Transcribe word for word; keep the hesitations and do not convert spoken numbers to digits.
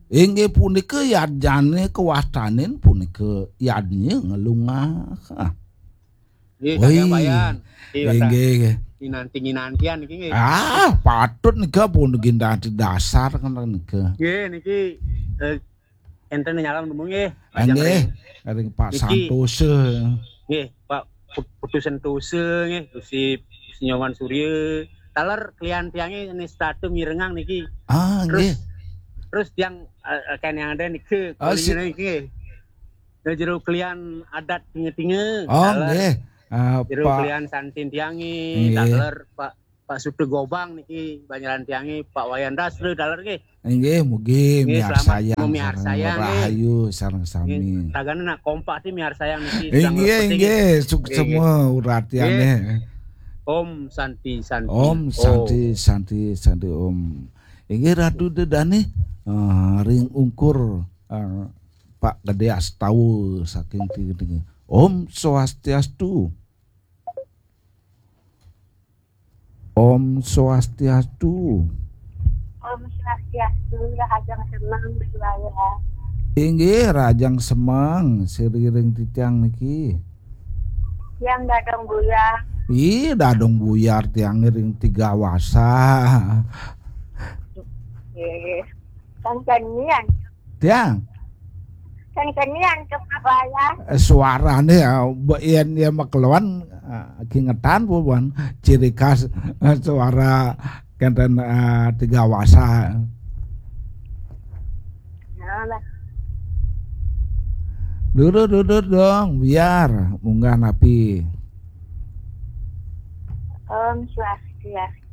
Inggih punika yadnyane kawastanin punika yadnya ngelungah. Ah. Nggih, Woi. Kang Wayan. Nggih, Wayan. Inggih. Nginanti-nginantian niki nggih. Ah, patut nika pun gindanti dasar kan nika. Nggih, niki eh, enten nyalon nemu nggih. Lajeng Inggih, ring- ring Pak Niki. Santosa. Nggih, Pak Put- Putu Sentosa nggih, Gusti Gusti Nyoman Surya. Taler klian tiange nistatu mirengang niki. Ah, Terus nggih. terus tiang eh, eh, kan yang ada niki Ah, si- kuliah niki. Nah, jero klian adat tinge-tinge. Oh, Taler nggih. Ah, jero Pak. Klian santin tiange, Nggih. taler Pak Pak Sutu Gobang niki banyaran tiange, Pak Wayan Dasra taler nggih. Inggih, mugi Nggih, selamat miarsayang miarsayang, sareng nggih. Rahayu sareng sami. Nggih, tagane nak kompak ti miarsayang niki sedang Inggih, mlebet niki. inggih, suksema uratiane. Om Santi Santi. Om Santi Santi Santi Om. Inggih Ratu Dedane, ah, ring ungkur, ah, Pak Gede Astawa saking Tinggi. Om Swastiastu. Om Swastiastu. Om Swastiastu, Rahajeng Semeng Bujaya. Inggih Rahajeng Semeng, siriring titiang niki. Yang Dadong Buyar. Ih, Dadong Buyar tiang ring Tiga Wasa. Nggih. Kang Cenian. Tiang, Kang Cenian ke Surabaya. eh, suarane ya, mbok yen ya makeluan, eh, kingetan buan ciri khas, eh, suara kenten, eh, Tiga Wasa. Nah, lah. Dudur dudur dong, biar munggah napi. Om Swastiastu.